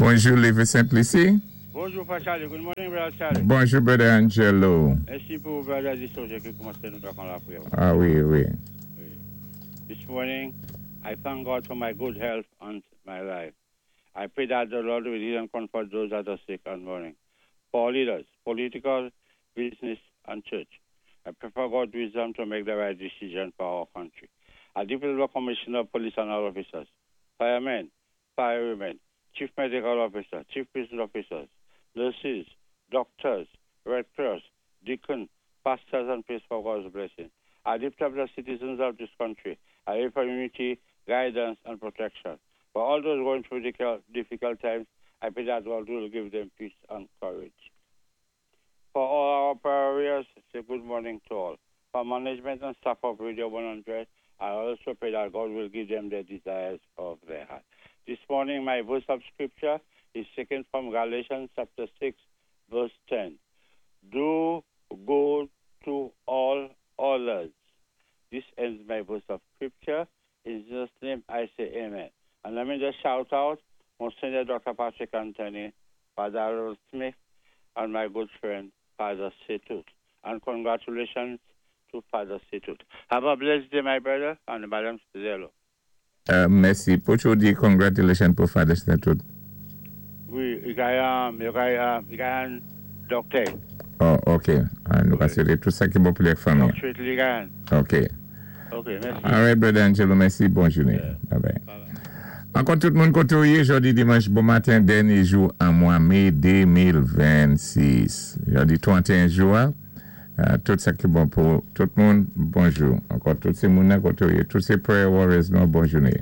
Bonjou, Live Saint Lucie. Bonjou, Frè Charlie. Good morning, Brother Charlie. Bonjou, Brother Angelo. Mèsi pou Brother Dissoger ki koumansé nou ak an lapriyè. A wi. Wi. This morning, I thank God for my good health and my life. I pray that the Lord will heal and comfort those that are sick and mourning. For leaders, political, business, and church, I pray for God's wisdom to make the right decision for our country. I declare the Commissioner of Police and all officers, firemen, firewomen, chief medical officer, chief prison officers, nurses, doctors, Red Cross, deacon, pastors, and priests for God's blessing. I lift up the citizens of this country. I pray for unity, guidance, and protection. For all those going through difficult times, I pray that God will give them peace and courage. For all our prayers, say good morning to all. For management and staff of Radio 100, I also pray that God will give them the desires of their heart. This morning, my verse of scripture is taken from Galatians chapter 6, verse 10. Do good to all others. This ends my verse of scripture. In Jesus' name, I say amen. And let me just shout out Monsignor Dr. Patrick Anthony, Father Harold Smith, and my good friend, Father Setut. And congratulations to Father Setut. Have a blessed day, my brother, and Madam Zelo. Mèsi. Pou di congratulations pou Father Setut? Wi, li genyen doktè. Oh, ok. Ah, nou ka swété tout sa ki bon pou lafanmi. Doctorate li genyen. Ok. Ok, mèsi. All right, Brother Angelo, mèsi. Bòn jounen. Yeah. Bye bye. Bye bye. Ankò tout moun koté ou yé, jòdi dimanch, bon maten, dènyé jou an mwa mé 2026. Jòdi 31 jen, tout sa ki bon pou tout moun, bonjou. Ankò tout sé moun koté ou yé, tout sé prayer warriors nou, bòn jounen.